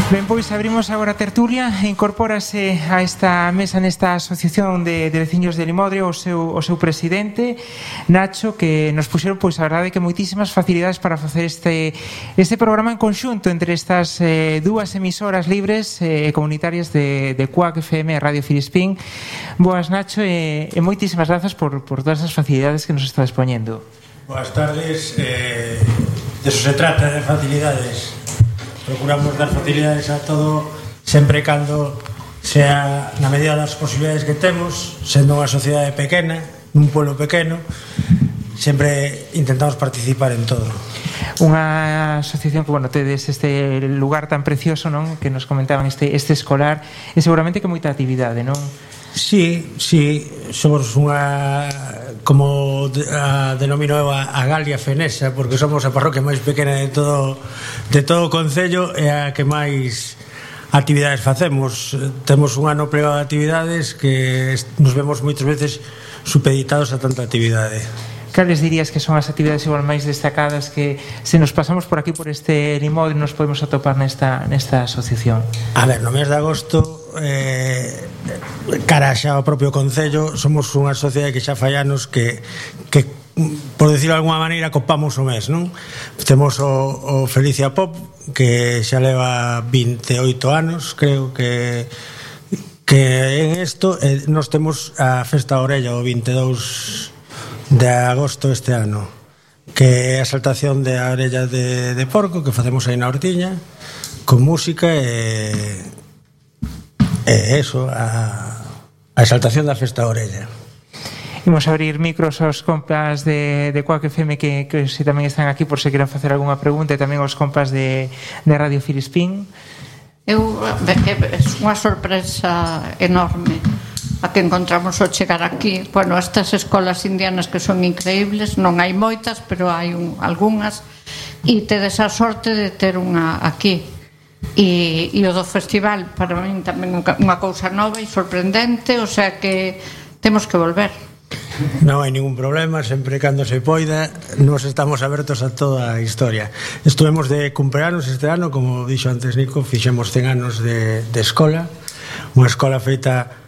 Ben, pois abrimos agora a tertulia e incorpórase a esta mesa nesta asociación de veciños de Limodre o seu presidente Nacho, que nos puxeron, pois a verdade que moitísimas facilidades para facer este programa en conxunto entre estas dúas emisoras libres e comunitarias de Cuac FM e Radio Filispín. Boas, Nacho, e moitísimas grazas por todas as facilidades que nos está expoñendo. Boas tardes. De eso se trata, de facilidades. Procuramos dar facilidades a todo, sempre cando sea na medida das posibilidades que temos, sendo unha sociedade pequena, nun pueblo pequeno, sempre intentamos participar en todo. Unha asociación que, bueno, tedes este lugar tan precioso, non? Que nos comentaban este escolar, e seguramente que moita actividade, non? Sí, somos unha, como a denomino eu, a Galia Fenesa, porque somos a parroquia máis pequena de todo o concello e a que máis actividades facemos. Temos un ano plegado de actividades que nos vemos moitas veces supeditados a tanta actividade. Cales dirías que son as actividades igual máis destacadas que se nos pasamos por aquí por este Limodre nos podemos atopar nesta asociación? A ver, no mes de agosto, cara xa ao propio concello, somos unha sociedade que xa fai anos que por decirlo de alguma maneira copamos o mes, non? Temos o Felicia Pop, que xa leva 28 anos, creo que en isto, nos temos a Festa Orella o 22 de agosto este ano, que é a exaltación de a orella de porco que facemos aí na hortiña con música e eso, a exaltación da Festa Orella. Imos abrir micros aos compas de Cuac FM que se tamén están aquí por se queran facer algunha pregunta, e tamén aos compas de Radio Filispín. É unha sorpresa enorme a que encontramos ao chegar aquí. Bueno, estas escolas indianas que son increíbles, non hai moitas, pero hai algunhas, e tedes a sorte de ter unha aquí. E o do festival, para min tamén unha cousa nova e sorprendente, o sea que temos que volver. Non hai ningún problema, sempre cando se poida nos estamos abertos a toda a historia. Estuvemos de cumpleanos este ano, como dixo antes Nico, fixemos 100 anos de escola, unha escola feita.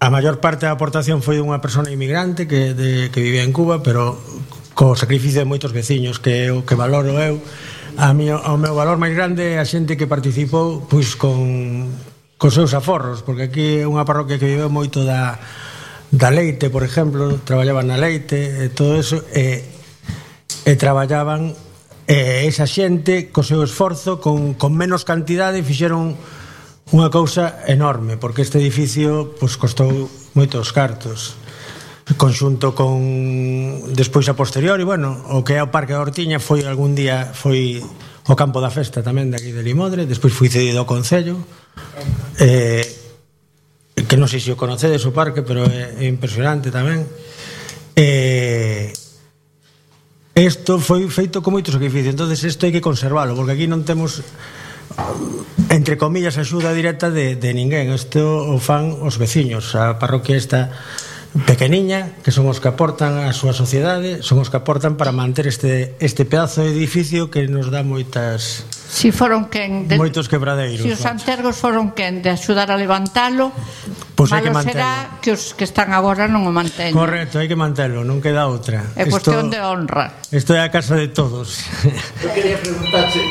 A maior parte da aportación foi dunha persona inmigrante que vivía en Cuba, pero co sacrificio de moitos veciños, que é o que valoro eu. O meu valor máis grande é a xente que participou pois con seus aforros, porque aquí é unha parroquia que vive moito da leite, por exemplo, traballaban na leite e todo eso, e traballaban esa xente co seu esforzo con menos cantidade fixeron unha cousa enorme, porque este edificio pois costou moitos cartos, conxunto con despois a posteriori, bueno, o que é o Parque da Hortiña algún día foi o campo da festa tamén de aquí de Limodre, despois foi cedido ao concello, que non sei se o conocedes o parque, pero é impresionante tamén. Isto foi feito con moito sacrificio, entonces isto hai que conservalo, porque aquí non temos, entre comillas, axuda directa de ninguén. Isto o fan os veciños. A parroquia esta pequeniña, que son os que aportan a súa sociedade, son os que aportan para manter este pedazo de edificio que nos dá moitas... Si foron moitos quebradeiros. Si os antergos foron quen de axudar a levantalo, pois hai que malo será que os que están agora non o manteñen. Correcto, hai que mantelo, non queda outra. É cuestión de honra. Isto é a casa de todos. Eu quería preguntarche...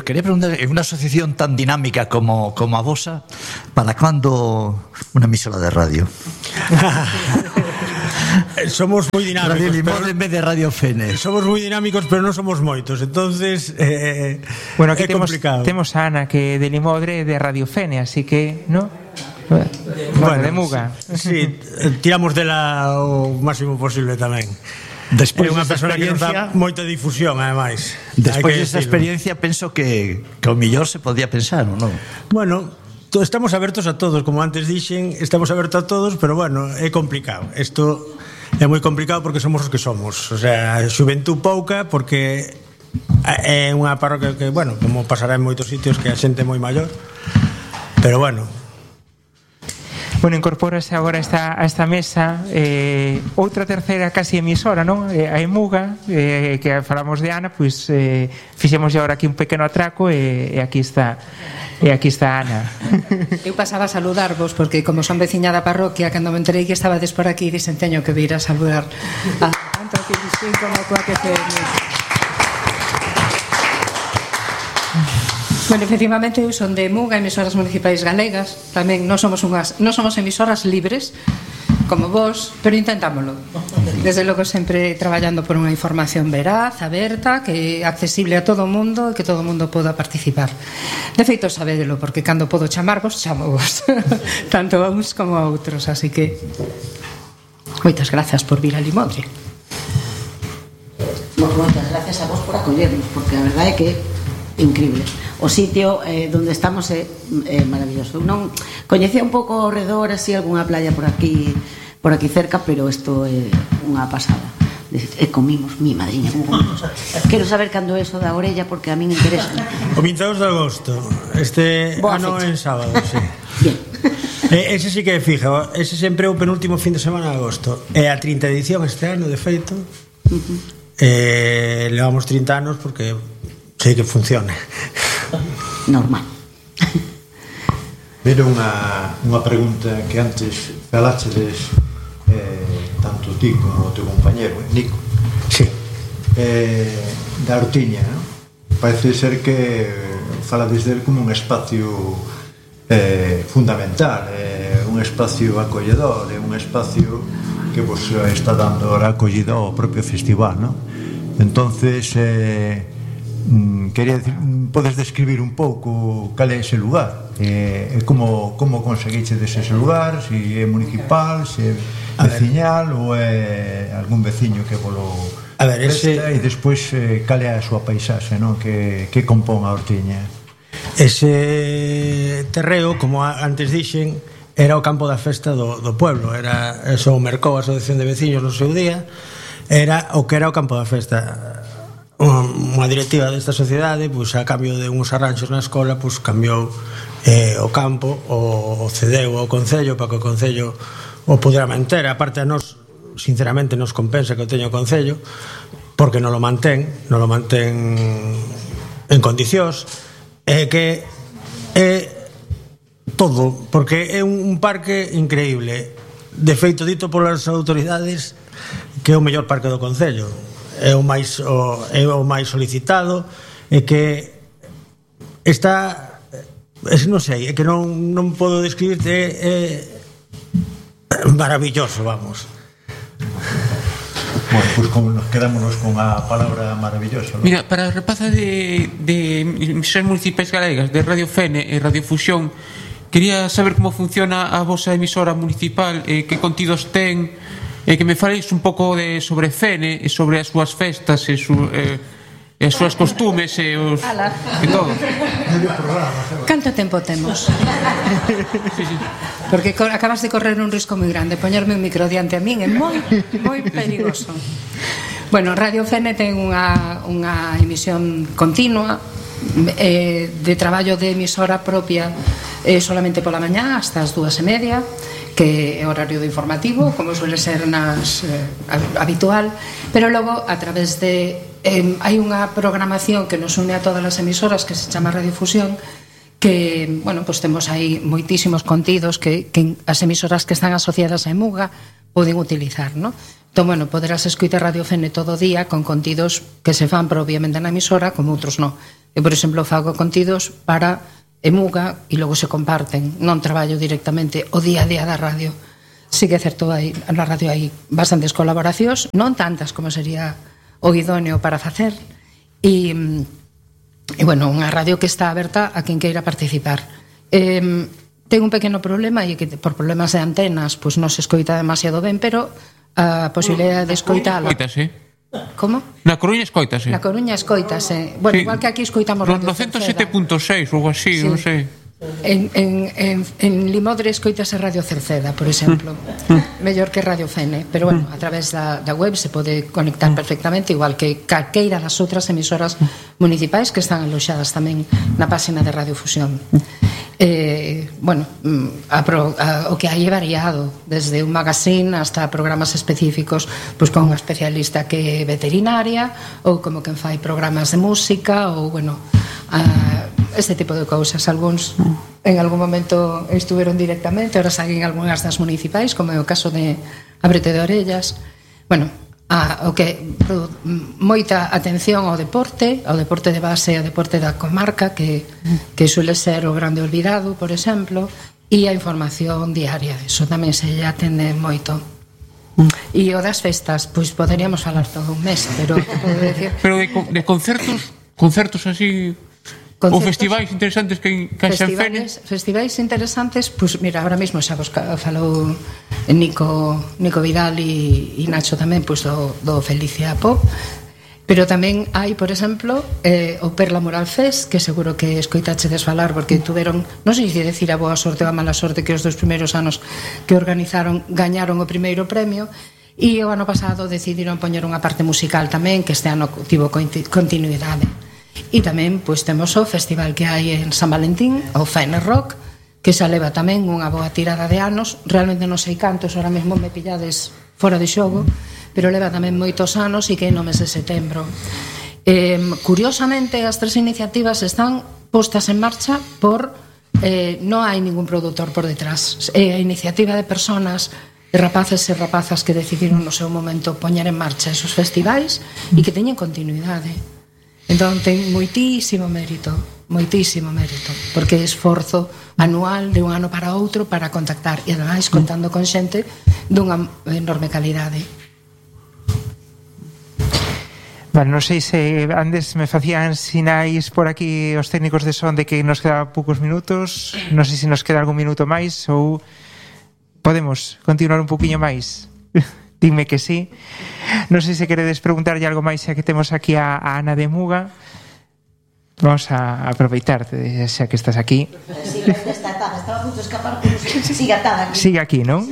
Quería preguntar, en unha asociación tan dinámica como a vosa, ¿para cando unha emisora de radio? Somos moi dinámicos. Radio Limodre en vez de Radio Fene. Somos moi dinámicos, pero non somos moitos. Entonces, bueno, aquí complicado. Temos a Ana, que de Limodre de Radio Fene, así que, ¿no? Bueno, de Muga. Sí, tiramos dela o máximo posible tamén. Despois é unha persona que nos dá moita difusión, ademais. Despois desa experiencia, penso que o millor se podía pensar, ou non? Bueno, estamos abertos a todos, como antes dixen, estamos abertos a todos, pero bueno, é complicado. Isto é moi complicado porque somos os que somos. O sea, xuventud pouca, porque é unha parroquia que, bueno, como pasará en moitos sitios, que a xente é moi maior, pero bueno. Bueno, incorpórase agora a esta mesa outra terceira casi emisora, non? A Emuga, que falamos de Ana, pois fixemos agora aquí un pequeno atraco e aquí está Ana. Eu pasaba a saludarvos porque como son veciña da parroquia, cando me enterei que estabades por aquí, dixen teño que vir a saludar tanto a Filistín como a Coac FM. Bueno, efectivamente, eu son de Emuga, emisoras municipais galegas. Tamén non somos emisoras libres como vos, pero intentámoslo. Desde logo sempre traballando por unha información veraz, aberta, que é accesible a todo o mundo e que todo o mundo poda participar. De feito, sabédelo, porque cando podo chamarvos, chamavos, tanto a uns como a outros, así que moitas grazas por vir a Limodre. Moitas gracias a vos por acollernos, porque a verdade é que é increíble. O sitio onde estamos é maravilloso. Eu non coñecía un pouco ao redor, así, algunha playa por aquí cerca, pero isto é unha pasada. E comimos, mi madriña, quero saber cando é eso da orella, porque a min interesa. O 22 de agosto, ano en sábado, sí. Bien. Ese sí que é fija, ese sempre é o penúltimo fin de semana de agosto. É a 30 edición este ano, de feito. Levamos 30 anos porque sei que funciona. Normal. Mira unha pregunta que antes falachedes tanto ti como o teu compañero Nico. Sí. Da Ortiña, non? Parece ser que falades del como un espacio fundamental, un espacio acolledor, un espacio que vos está dando a acollida ao propio festival, non? Entonces quería decir, podes describir un pouco cal é ese lugar, como conseguiche ese lugar, se é municipal, se é veciñal ou é algún veciño que volo presta, e despois cal é a súa paisaxe, non? Que compón a Ortiña. Ese terreo, como antes dixen, era o campo da festa do pueblo, era eso, o mercou a asociación de veciños no seu día, era o que era o campo da festa. Unha directiva desta sociedade, pois a cambio de uns arranxos na escola, pois cambiou o campo, o cedeu ao Concello para que o Concello o pudera manter. A parte a nós, sinceramente, nos compensa que o teña o Concello, porque non lo mantén en condicións, que é todo, porque é un parque increíble, de feito dito polas autoridades que é o mellor parque do Concello. É o máis solicitado, e que está, non sei, é que non podo describirte, é maravilloso, vamos. Bueno, pois como nos quedámonos con a palabra maravilloso, ¿no? Mira, para a rapaza de emisoras municipais galegas, de Radio Fene e Radio Fusión, quería saber como funciona a vosa emisora municipal, que contidos ten, que me faleis un pouco sobre Fene e sobre as súas festas e as súas costumes e todo. Canto tempo temos? Sí. Porque acabas de correr un risco moi grande. Poñerme un micro diante a min é moi perigoso. Bueno, Radio Fene ten unha emisión continua de traballo de emisora propia, solamente pola mañá hasta as 2:30, que é horario de informativo, como suele ser habitual, pero logo a través de hai unha programación que nos une a todas as emisoras que se chama Radiofusión, que, bueno, pues temos aí moitísimos contidos que as emisoras que están asociadas a Emuga poden utilizar, ¿no? Entón, bueno, poderás escoitar Radio Fene todo o día con contidos que se fan propiamente na emisora, como outros non. Eu, por exemplo, fago contidos para Emuga e logo se comparten, non traballo directamente o día a día da radio. Sí que é certo, na radio hai bastantes colaboracións, non tantas como sería o idóneo para facer, e bueno, unha radio que está aberta a quen queira participar. Ten un pequeno problema, e que por problemas de antenas pois non se escoita demasiado ben, pero a posibilidade de escoitala. Como? Na Coruña escoitase. Na Coruña escoitase. Bueno, sí. Igual que aquí escoitamos no 107.6 ou así, sí. Non sei. En Limodre escoitase Radio Cerceda, por exemplo, mellor que Radio Fene, pero bueno, a través da web se pode conectar perfectamente, igual que calqueira das outras emisoras municipais que están aloxadas tamén na página de Radio Fusión. Bueno, o que hai é variado, desde un magazine hasta programas específicos, pois con un especialista que é veterinaria, ou como quen fai programas de música, ou bueno, este tipo de cousas. Algúns en algún momento estuveron directamente, ahora saen algunhas das municipais, como é o caso de Abrete de Orellas. Bueno, o que moita atención ao deporte de base, ao deporte da comarca, que suele ser o grande olvidado, por exemplo, e a información diaria, eso tamén se lle atende moito. E o das festas, pois poderíamos falar todo un mes, pero podo decir... Pero de concertos así... Ou festivais interesantes que encaixan Fene? Festivais interesantes, pois mira, ahora mesmo xa vos falou Nico Vidal e Nacho tamén, pois do Felicia Pop, pero tamén hai, por exemplo, o Perla Mural Fest, que seguro que escoitachedes falar, porque tuveron, non sei se decir a boa sorte ou a mala sorte, que os 2 primeiros anos que organizaron gañaron o primeiro premio, e o ano pasado decidiron poñer unha parte musical tamén, que este ano tivo continuidade. E tamén pois temos o festival que hai en San Valentín, o Fene Rock, que xa leva tamén unha boa tirada de anos. Realmente non sei cantos, ahora mesmo me pillades fora de xogo, pero leva tamén moitos anos e que é no mes de setembro. Curiosamente, as 3 iniciativas están postas en marcha por non hai ningún produtor por detrás. É a iniciativa de personas, de rapaces e rapazas que decidiron no seu momento poñer en marcha esos festivais e que teñen continuidade. Entón ten moitísimo mérito, porque é esforzo anual de un ano para outro para contactar e ademais contando con xente dunha enorme calidade. Vale, non sei se antes me facían sinais por aquí os técnicos de son de que nos quedaban poucos minutos, non sei se nos queda algún minuto máis ou podemos continuar un poquinho máis. Dime que sí. Non sei se queredes preguntarlle algo máis xa que temos aquí a Ana de Muga. Vamos a aproveitar xa que estás aquí. Sigue atada, estaba a punto de escapar, pero sigue atada aquí. Sigue aquí, non?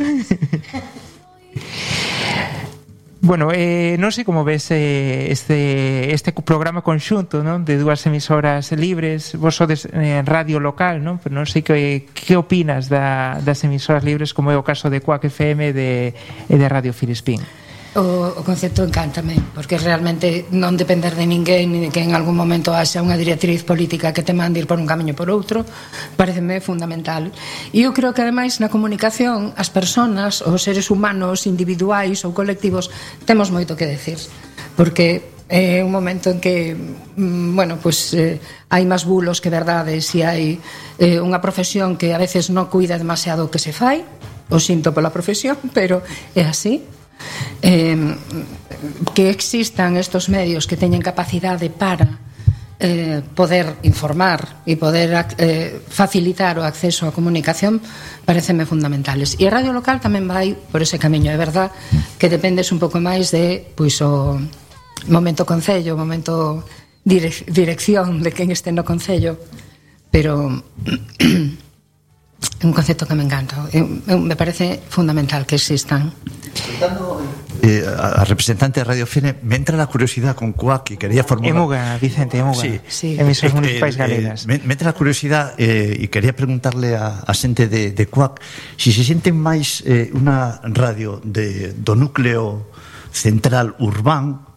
Bueno, non sei como ves este programa conxunto, non, de 2 emisoras libres. Vos sodes en radio local, non? Pero non sei que opinas das emisoras libres, como é o caso de Cuac FM e de Radio Filispín. O concepto encántame, porque realmente non depender de ninguén, ni de que en algún momento haxa unha directriz política que te mande ir por un camiño por outro, pareceme fundamental. E eu creo que ademais na comunicación as persoas, os seres humanos individuais ou colectivos, temos moito que decir, porque é un momento en que bueno, pues hai máis bulos que verdades, e hai unha profesión que a veces non cuida demasiado o que se fai, o sinto pola profesión, pero é así. Que existan estos medios que teñen capacidade para poder informar e poder facilitar o acceso á comunicación pareceme fundamentales. E a radio local tamén vai por ese camiño. É verdad que dependes un pouco máis de pois o momento concello, o momento dirección de quen este no concello, pero é un concepto que me encanta. Me parece fundamental que existan. A representante de Radio Fene, me entra la curiosidad con Cuac, y quería formular... Emuga, Vicente, Emuga, sí. Emisoras municipais galegas. Me entra la curiosidad y quería preguntarle a xente de Cuac si se sienten máis unha radio do núcleo central urbán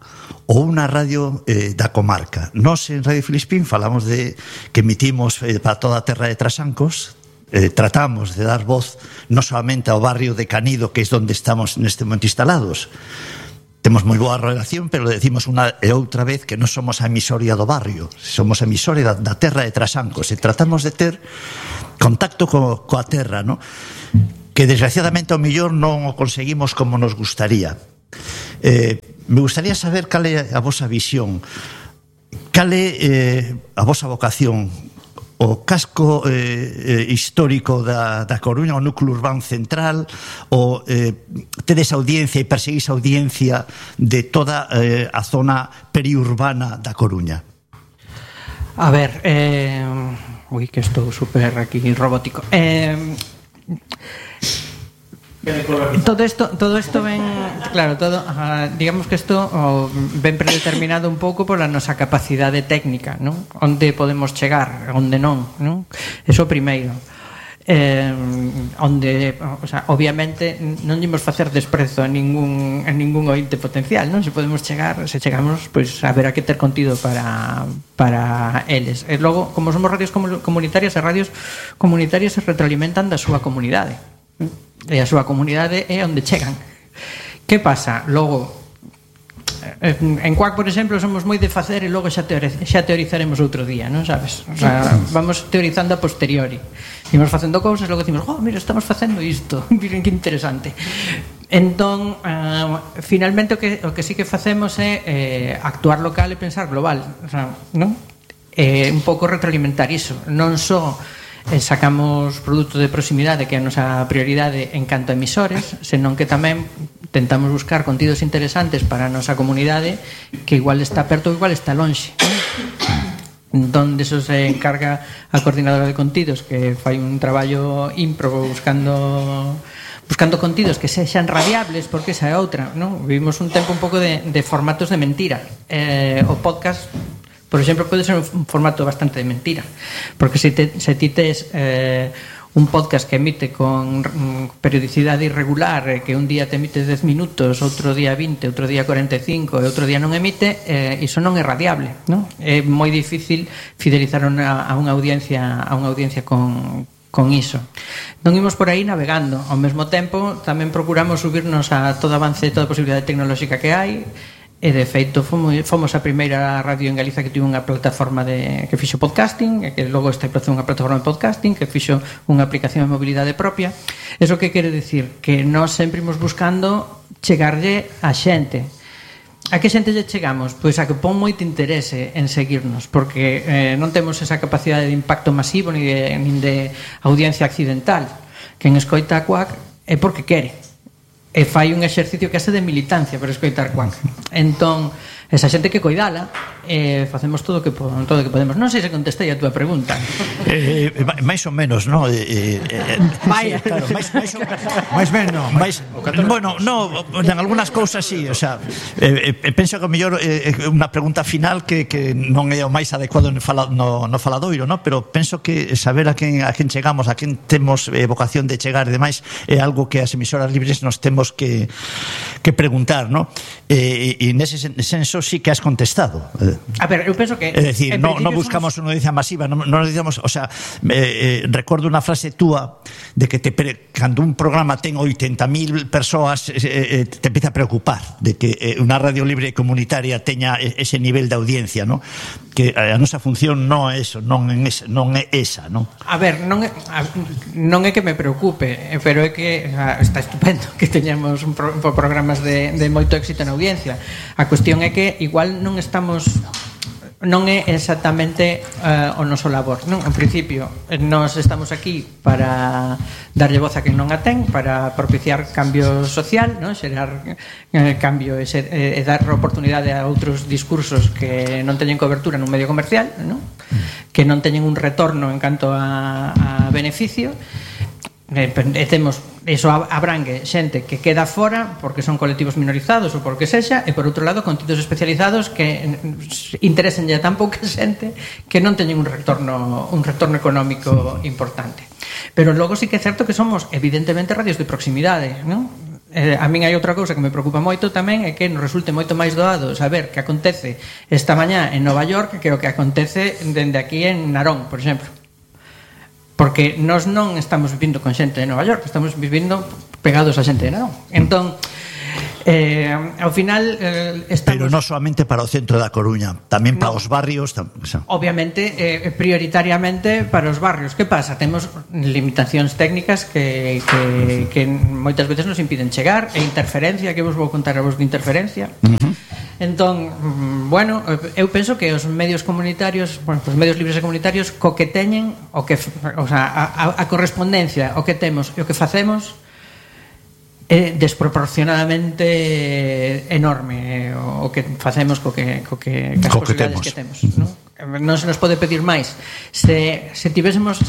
ou unha radio da comarca. Nós en Radio Filispín falamos de que emitimos para toda a terra de Trasancos. Tratamos de dar voz non solamente ao barrio de Canido, que é onde estamos neste momento instalados. Temos moi boa relación, pero decimos unha e outra vez que non somos a emisoria do barrio, somos a emisoria da terra de Trasancos, e tratamos de ter contacto coa terra, ¿no? Que desgraciadamente ao mellor non o conseguimos como nos gustaría. Me gustaría saber cal é a vosa visión, cal é a vosa vocación. O casco histórico da Coruña, o núcleo urbano central, o tedes audiencia e perseguís audiencia de toda a zona periurbana da Coruña? A ver, Ui, que estou super aquí robótico. Todo esto ven, claro, digamos que isto ven predeterminado un pouco pola nosa capacidade técnica, non? Onde podemos chegar, onde non, non? Eso primeiro. Onde, o sea, obviamente non imos facer desprezo a ningún ointe potencial, non? Se podemos chegar, se chegamos, pois haberá que ter contido para eles. E logo, como somos radios comunitarias, as radios comunitarias se retroalimentan da súa comunidade. E a súa comunidade é onde chegan. Que pasa? Logo, en Cuac, por exemplo, somos moi de facer e logo xa teorizaremos outro día, non sabes? O sea, vamos teorizando a posteriori. Imos facendo cousas, logo decimos, mira, estamos facendo isto, miren que interesante. Entón, finalmente o que sí que facemos é actuar local e pensar global, o sea, non? Un pouco retroalimentar iso, non só sacamos produto de proximidade, que é a nosa prioridade en canto a emisores, senón que tamén tentamos buscar contidos interesantes para a nosa comunidade, que igual está perto ou igual está lonxe. Entón, deso se encarga a coordinadora de contidos, que fai un traballo ímprobo buscando contidos que sexan radiables, porque esa é outra, non? Vivimos un tempo un pouco de formatos de mentira. O podcast, por exemplo, pode ser un formato bastante de mentira, porque se ti tes un podcast que emite con periodicidade irregular, que un día te emite 10 minutos, outro día 20, outro día 45 e outro día non emite, iso non é radiable, non? É moi difícil fidelizar a unha audiencia con iso. Non imos por aí navegando. Ao mesmo tempo, tamén procuramos subirnos a todo avance, toda a posibilidade tecnolóxica que hai. E de feito fomos a primeira radio en Galiza que tivo unha plataforma que fixo podcasting, e que logo estableceu unha plataforma de podcasting, que fixo unha aplicación de mobilidade propia. Eso que quere dicir? Que nós sempre imos buscando chegarlle a xente. A que xente lle chegamos? Pois a que pon moito interese en seguirnos, porque non temos esa capacidade de impacto masivo nin de audiencia accidental. Quen escoita a Cuac é porque quere, e fai un exercicio que hace de militancia para escoitar Cuac. Entón, esa xente que coidala, facemos todo o que podemos. Non sei se contestei a túa pregunta. Mais ou menos, non? Vaya. Claro, máis menos. Bueno, no, en algunhas cousas sí, o sea, penso que o mellor unha pregunta final que non é o máis adecuado no faladoiro, non? Pero penso que saber a quen chegamos, a quen temos vocación de chegar e demais é algo que as emisoras libres nos temos que preguntar, non? E nese senso sí que has contestado. A ver, eu penso que... É dicir, non buscamos unha audiencia masiva, non dicamos, o sea, recordo unha frase túa de que cando un programa ten 80.000 persoas te empieza a preocupar de que unha radio libre comunitaria teña ese nivel de audiencia, non? Que a nosa función non é eso, non é esa, non? A ver, non é que me preocupe, pero é que está estupendo que teñamos programas de moito éxito na audiencia. A cuestión é que igual non é exactamente o noso labor, non? En principio, nós estamos aquí para darlle voz a quen non a ten, para propiciar cambio social, non? Xerar cambio e dar oportunidade a outros discursos que non teñen cobertura nun medio comercial, non? Que non teñen un retorno en canto a beneficio. E temos, eso abrangue xente que queda fora porque son colectivos minorizados ou porque sexa, e por outro lado contidos especializados que interesen ya tan pouca xente que non teñen un retorno económico importante. Pero logo sí que é certo que somos evidentemente radios de proximidade, non? A min hai outra cousa que me preocupa moito tamén, é que nos resulte moito máis doado saber que acontece esta mañá en Nova York que o que acontece dende aquí en Narón, por exemplo. Porque nós non estamos vivindo con xente de Nova York, estamos vivindo pegados a xente de Narón. Entón, ao final estamos... Pero non solamente para o centro da Coruña, tamén para os barrios, obviamente, prioritariamente para os barrios. Que pasa? Temos limitacións técnicas que moitas veces nos impiden chegar, e interferencia, que vos vou contar a vos de interferencia. Entón, bueno, eu penso que os medios comunitarios, os medios libres e comunitarios, co que teñen, o sea, a correspondencia o que temos e o que facemos é desproporcionadamente enorme, o que facemos co que as posibilidades que temos, non? non se nos pode pedir máis. Se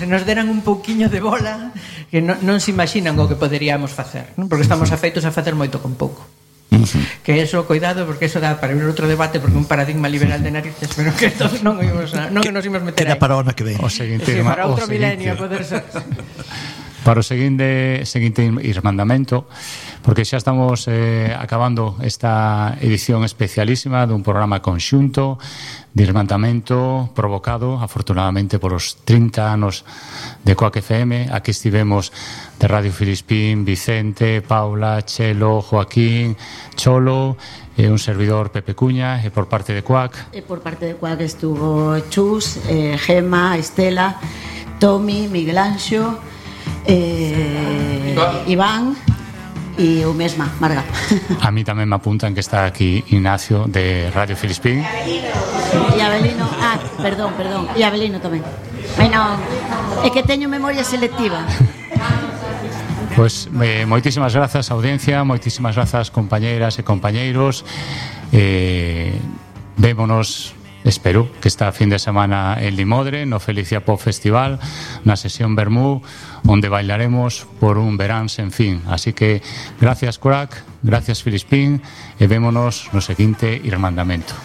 nos deran un pouquiño de bola, que non se imaginan o que poderíamos facer, non? Porque estamos afeitos a facer moito con pouco. Que eso, cuidado, porque eso dá para abrir outro debate, porque un paradigma liberal de narices, pero que non nos imos meter aí. Queda para o ano que ven. O seguinte, sí, para outro milenio poder ser. Para o seguinte irmandamento, porque xa estamos acabando esta edición especialísima dun programa conxunto de irmandamento provocado, afortunadamente, por os 30 anos de Coac FM. Aquí estivemos de Radio Filispín, Vicente, Paula, Chelo, Joaquín, Cholo, un servidor Pepe Cuña, e por parte de Coac. E por parte de Coac estuvo Chus, Gema, Estela, Tomi, Miguel Anxo, Iván e eu mesma, Marga. A mí tamén me apuntan que está aquí Ignacio de Radio Filispín. E Abelino, perdón, e Abelino tamén. Bueno, é que teño memoria selectiva. Pois moitísimas grazas, audiencia, moitísimas grazas, compañeiras e compañeiros. Vémonos, espero que esta fin de semana en Limodre, no Felicia Pop Festival, na sesión Bermú, onde bailaremos por un verán sen fin. Así que gracias Coac, gracias Filispín, e vémonos no seguinte irmandamento.